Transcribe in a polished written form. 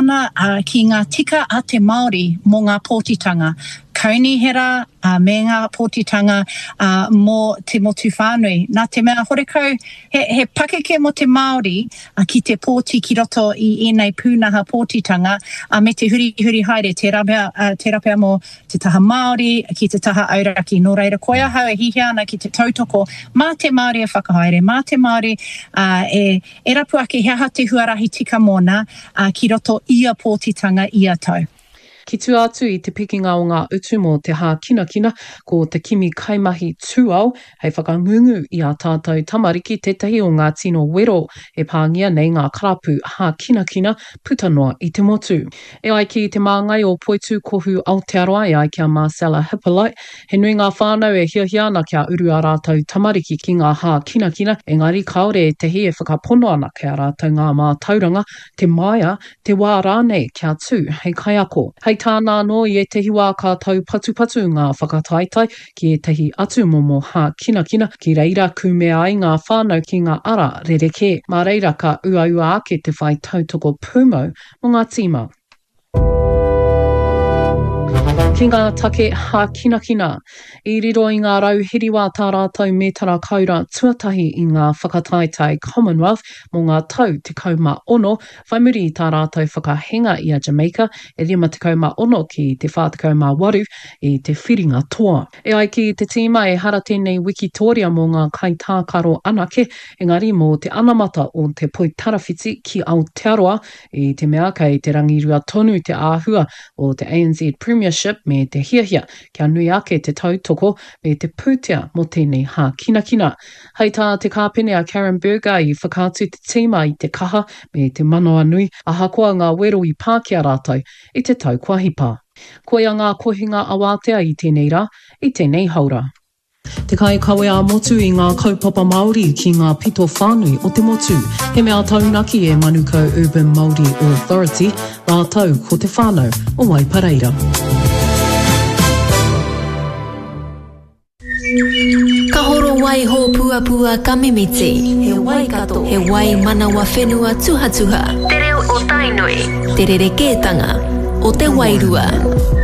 ana ki ngā tika a te Māori mō ngā pōtitanga kaunihera me ngā pōtitanga mō te motu whānui. Nā te mea horekau he, he pakeke mō te Māori ki te pōti ki roto i ēnei pūnaha pōtitanga me te hurihuri haere, tērā pea, tērā pea mō te taha Māori, ki te taha auraki. Nō reira, koia ahau e hihia ana ki te tautoko mā te Māori e whakahaere, mā te Māori e, e rapu ake he aha te huarahi tika mōna ki roto ia pōtitanga ia tau. Ki tua atu i te pikinga o ngā utu mō te hākinakina, ko te kimi kaimahi tūao hei whakangungu i ā tātou tamariki tētahi o ngā tino wero e pāngia nei ngā karapu hākinakina puta noa i te motu. E ai ki te māngai o Poitūkohu Aotearoa e ai ki a Marcella Hippolyte, he nui ngā whānau e hiahia ana kia uru ā rātou tamariki ki ngā hākinakina, engari kāore ētahi e whakapono ana kei a rātou ngā mātauranga, te māia, te wā rānei kia tū hei kaiako. Hei tāna anō, i ētahi wā ka taupatupatu ngā whakataetae ki ētahi atu momo hākinakina, ki reira kūmea ai ngā whānau ki ngā ara rerekē. Mā reira ka uaua ake te whai tautoko pūmau mō ngā tīma. Ki ngā take hākinakina. I riro i ngā rauhiriwa tā rātou mētara kaura tuatahi i ngā whakataetae Commonwealth mō ngā tau 16, whai muri i tā rātou whakahenga i a Jamaica e 56 ki te 48 i te whiringa toa. E ai ki te tīma ehara tēnei wikitōria mō ngā kaitākaro anake, engari mō te anamata o te poitarawhiti ki Aotearoa, i te mea kei te rangirua tonu te āhua o te ANZ Premiership me te hiahia kia nui ake te tautoko me te pūtea mō tēnei hākinakina. Hei tā te kāpene a Karen Burger i whakaatu te tīma i te kaha me te manawanui ahakoa ngā wero i pā ki a rātou i te tau kua hipa. Koia ngā kohinga awātea i tēnei rā, i tēnei haora. Te kaikawe ā-motu i ngā kaupapa Māori ki ngā pito whānui o te motu. He mea taunaki e Manukau Urban Māori Authority rātou ko te whānau o Waipareira. Ka horo wai hōpuapua ka mimiti. He Waikato, he wai manawa whenua tuhatuha. Te reo o Tainui. Te rerekētanga o te wairua.